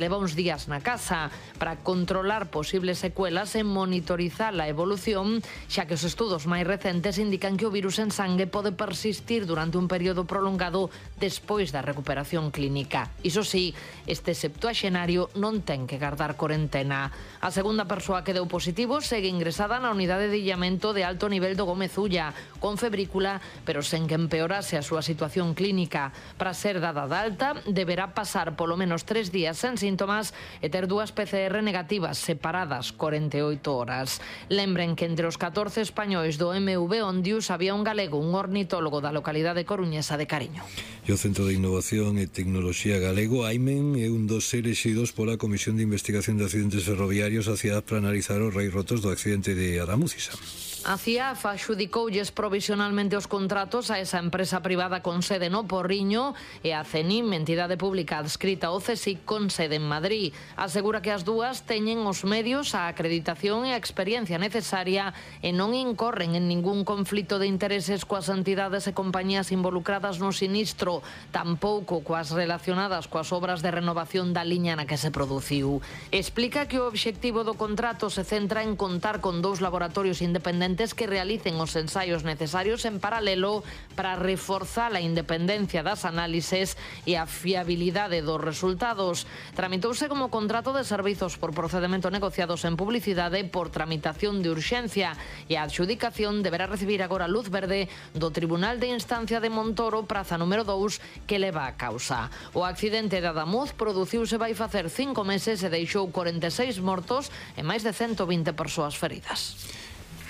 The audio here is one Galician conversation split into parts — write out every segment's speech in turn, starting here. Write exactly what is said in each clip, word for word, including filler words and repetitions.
leva uns días na casa para controlar posibles secuelas e monitorizar a evolución, xa que os estudos máis recentes indican que o virus en sangue pode persistir durante un período prolongado despois da recuperación clínica. Iso sí, este septuaxenario non ten que gardar corentena. A segunda persoa que deu positivo segue ingresada na unidade de illamento de alto nivel do Gómez Ulla, con febrícula, pero sen que empeorase a súa situación clínica. Para ser dada de alta, deberá pasar polo menos tres días sen síntomas e ter dúas P C R negativas separadas corenta e oito horas. Lembren que entre os catorce españois do M V Ondius había un galego, un ornitólogo da localidade coruñesa de Cariño. E o Centro de Innovación e Tecnoloxía Galego, AIMEN, é un dos elexidos pola Comisión de Investigación de Accidentes Ferroviarios a cidade para analizar os reis rotos do accidente de Adamúzisa. A CIAF adxudicoulles provisionalmente os contratos a esa empresa privada con sede no Porriño e a CENIM, entidade pública adscrita ao CSIC con sede en Madrid. Asegura que as dúas teñen os medios, a acreditación e a experiencia necesaria e non incorren en ningún conflito de intereses coas entidades e compañías involucradas no sinistro, tampouco coas relacionadas coas obras de renovación da liña na que se produciu. Explica que o obxectivo do contrato se centra en contar con dous laboratorios independentes que realicen os ensaios necesarios en paralelo para reforzar a independencia das análises e a fiabilidade dos resultados. Tramitouse como contrato de servizos por procedemento negociados en publicidade por tramitación de urxencia e a adxudicación deberá recibir agora luz verde do Tribunal de Instancia de Montoro, praza número dous, que leva a causa. O accidente de Adamuz produciuse vai facer cinco meses e deixou corenta e seis mortos e máis de cento vinte persoas feridas.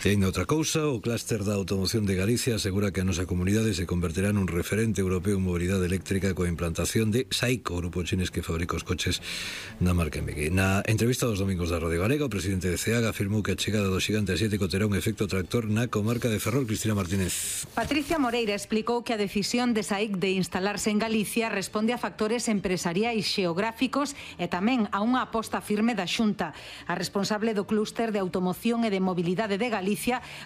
E ainda outra cousa, o clúster da automoción de Galicia asegura que a nosa comunidade se converterá nun referente europeo en mobilidade eléctrica coa implantación de SAIC, o grupo chinés que fabrica os coches na marca M G. Na entrevista dos domingos da Radio Galega, o presidente de CEAG afirmou que a chegada do xigante asiático terá un efecto tractor na comarca de Ferrol. Cristina Martínez. Patricia Moreira explicou que a decisión de SAIC de instalarse en Galicia responde a factores empresariais xeográficos e tamén a unha aposta firme da Xunta. A responsable do clúster de automoción e de mobilidade de Galicia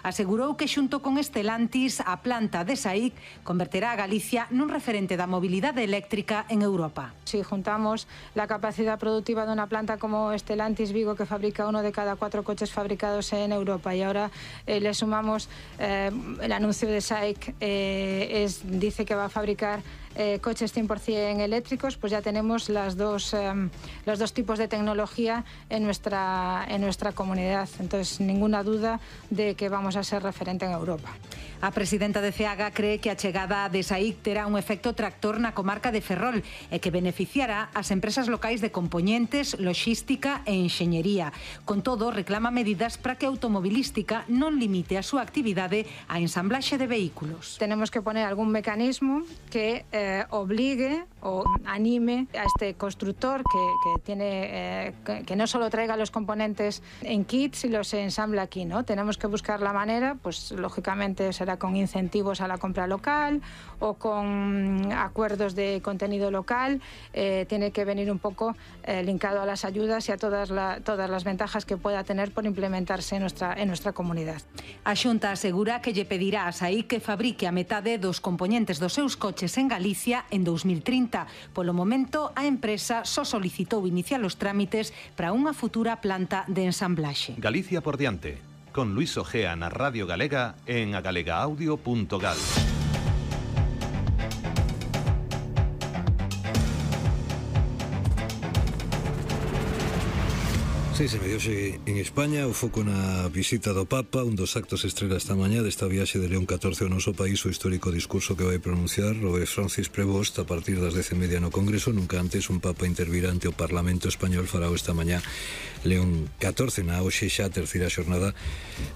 asegurou que xunto con Stellantis a planta de SAIC converterá a Galicia nun referente da mobilidade eléctrica en Europa. Si juntamos la capacidad productiva de una planta como Stellantis Vigo, que fabrica uno de cada cuatro coches fabricados en Europa, y ahora eh, le sumamos eh, el anuncio de SAIC, eh, es, dice que va a fabricar Eh, coches cien por cien eléctricos, pues ya tenemos las dos, eh, los dos tipos de tecnología en nuestra, en nuestra comunidad. Entonces, ninguna duda de que vamos a ser referente en Europa. A presidenta de CEAGA cree que a chegada de SAIC terá un efecto tractor na comarca de Ferrol e que beneficiará as empresas locais de compoñentes, loxística e enxeñería. Con todo, reclama medidas para que a automobilística non limite a súa actividade á ensamblaxe de vehículos. Tenemos que poner algún mecanismo que eh, Eh, obligue o anime a este constructor que, que tiene eh, que, que no solo traiga los componentes en kits y los ensambla aquí, ¿no? Tenemos que buscar la manera, pues lógicamente será con incentivos a la compra local o con acuerdos de contenido local, eh, tiene que venir un poco eh, linkado a las ayudas y a todas, la, todas las ventajas que pueda tener por implementarse en nuestra, en nuestra comunidad. A Xunta asegura que lle pedirá a SAIC que fabrique a metade dos componentes dos seus coches en Galicia en dos mil trinta. Polo momento, a empresa só solicitou iniciar os trámites para unha futura planta de ensamblaxe. Galicia por diante, con Luis Ojea na Radio Galega en agalegaudio punto gal. Sí, se mediouse en España o foco na visita do Papa. Un dos actos estrela esta mañá desta viaxe de León catorce ao noso país, o histórico discurso que vai pronunciar o Francis Prevost a partir das dez e media no Congreso. Nunca antes un Papa intervirá ante o Parlamento Español. Fará esta mañá León catorce na hoxe xa terceira xornada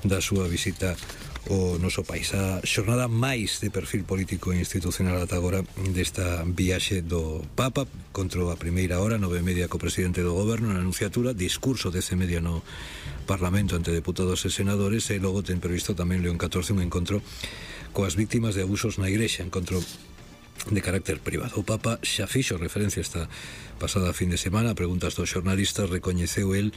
da súa visita o noso país. A xornada máis de perfil político e institucional ata agora desta viaxe do Papa. Contra a primeira hora, nove e media, co presidente do Goberno na anunciatura, discurso dez e media no Parlamento ante deputados e senadores, e logo ten previsto tamén León catorce un encontro coas víctimas de abusos na Igrexa, encontro de carácter privado. O Papa xa fixo referencia esta pasada fin de semana a preguntas dos xornalistas. Recoñeceu el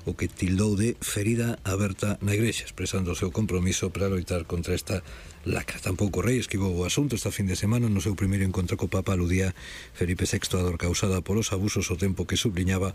o que tildou de ferida aberta na Igrexa, expresando o seu compromiso para loitar contra esta lacra. Tampouco o rei esquivou o asunto. Esta fin de semana, no seu primeiro encontro co Papa, aludía Felipe sexto a dor causada polos abusos, o tempo que subliñaba